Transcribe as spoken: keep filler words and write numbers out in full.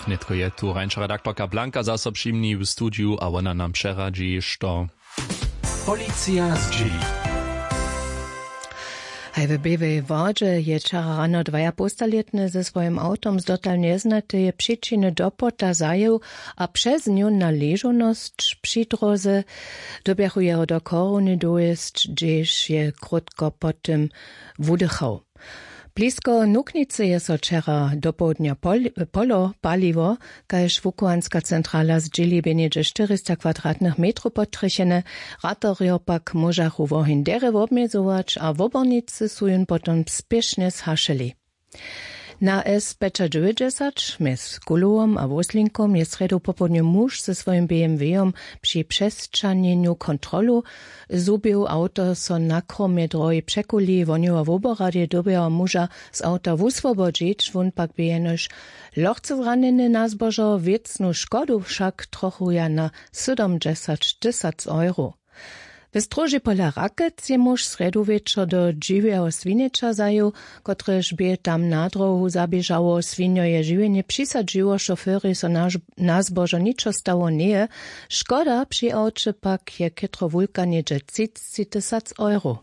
Nětko je tu rańša redaktorka Blanka zaso při mni w studiju a wona nam přeradźi, što policija zdźěli. Haj w běłej wodźe je wčera rano dwajapowstalětny ze swojim awtom z dotal njeznateje přičiny do płota zajěł a přez nju na ležownosć při dróze dyrbjachu jeho do chorowny dowjesć, hdźež je krótko po tym wudychał. Blisko nuknicy je so wčera dopołdnja pol- polo paliło, kaž wuchowanska centrala zdźěli, bě něhdźe štyrista kwadratnych metrow potrjechene. Ratorjo pak móžachu woheń derje wobmjezować a wobornicy su jón potom spěšnje zhašeli. Na s pjećadźewjećdźesat mjez kulowom a wóslinkom je srjedu popołdnju muž ze swojim bmw-jom při přesćahnjenju kontrolu zhubił. Awto so na kromje drohi překuli. Wohnjowa woboradej dyrbjała muža z awta wuswobodźić, wón pak bě jenož lochce zranjeny na zbožo. Wěcnu škodu wšak trochuja na sydomdźesat tysac euro. W stróži pola Rakec je muž srjedu wječor do dźiwjeho swinjeća zajěł, kotrež bě tam na dróhu zaběžało. Swinjo je žiwjenje přisadźiło, šoferej so na zbožo ničo stało njeje. Škoda při awće pak je chětro wulka, něhdźe třicći tysac euro.